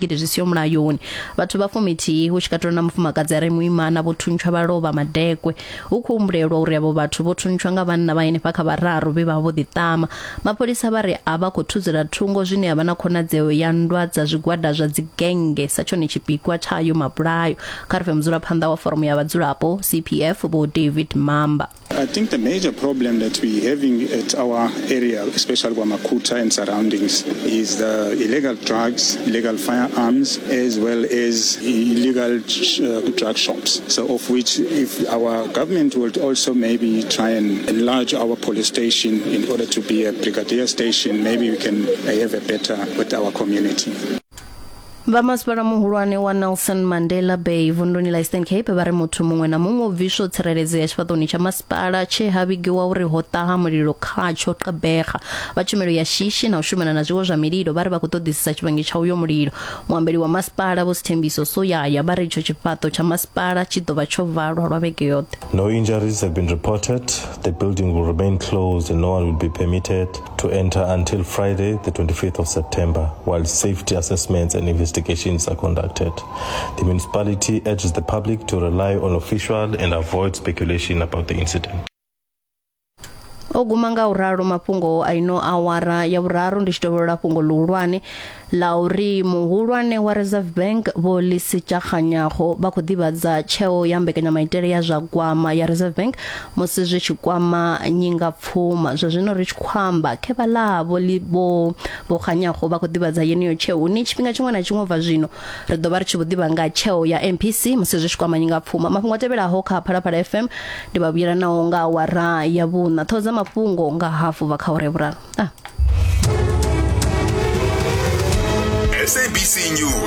zwigidi zwi siho mulayoni. Vhathu vha fumithihi hu tshi katelwa na mufumakadzi a re muimana vho thuntshwa vha lovha madekwe. Hu khou humbulelwa uri avho vhathu vho thuntshwa nga vhanna vha henefha kha vhararu vhe vha vho ḓiṱama. Mapholisa vha ri a vha khou thudzela thungo zwine ya vha na khonadzeo ya nndwa dza zwigwada zwa dzigennge sa tshone tshipikwa tsha ayo mabulayo. Kha ri pfe mudzulaphanḓa wa Foramu ya Vhadzulapo, CPF, Vho David Mamba. I think the major problem that we're having at our area, especially KwaMakhutha and surroundings, is the illegal drugs, illegal firearms, as well as illegal drug shops. So of which if our government would also maybe try and enlarge our police station in order to be a brigadier station, maybe we can have a better with our community. Vha masipala muhulwane wa Nelson Mandela Bay vunduni ḽa Eastern Cape vha ri muthu muṅwe na muṅwe o bviswa u tsireledzea tshifhaṱoni tsha masipala tshe ha vhigiwa uri ho ṱaha mulilo khatsho Gqeberha. Vha tshumelo ya shishi na u shumana na zwiwo zwa mililo vha ri vha khou ṱoḓisisa tshivhangi tsha uyo mulilo. Muambeli wa masipala Vho Sithembiso Soyaya vha ri itsho tshifhaṱo tsha masipala tshi ḓo vha tsho valwa lwa vhege yoṱhe. No injuries have been reported. The building will remain closed and no one will be permitted to enter until Friday, the 25th of September, while safety assessments and investigations are conducted. The municipality urges the public to rely on official and avoid speculation about the incident. O guma nga u ralo mafhungo a ino awara ya vhuraru ndi tshi tovholola fhungo ḽihulwane ḽa uri muhulwane wa Reserve Bank Vho Lesetja Kganyago vha khou ḓivhadza tsheo ya mbekanyamaitele ya zwa gwama ya Reserve Bank musi zwi tshi kwama nyingapfuma. Zwa zwino ri tshi khou amba khevha ḽa vho vho Vho Kganyago vha khou ḓivhadza yeneyo tsheo hune tshifhinga tshiṅwe na tshiṅwe ubva zwino ri ḓo vha ri tshi vho ḓivha nga tsheo ya MPC musi zwi tshi kwama nyingapfuma. Mafhungo a tevhelaho kha Phalaphala FM ndi vha vhuyela nao nga awara ya vhuṋa. Ṱhoho dza mafhungo nga hafu bva kha awara ya vhuraru. Ah. SABC News.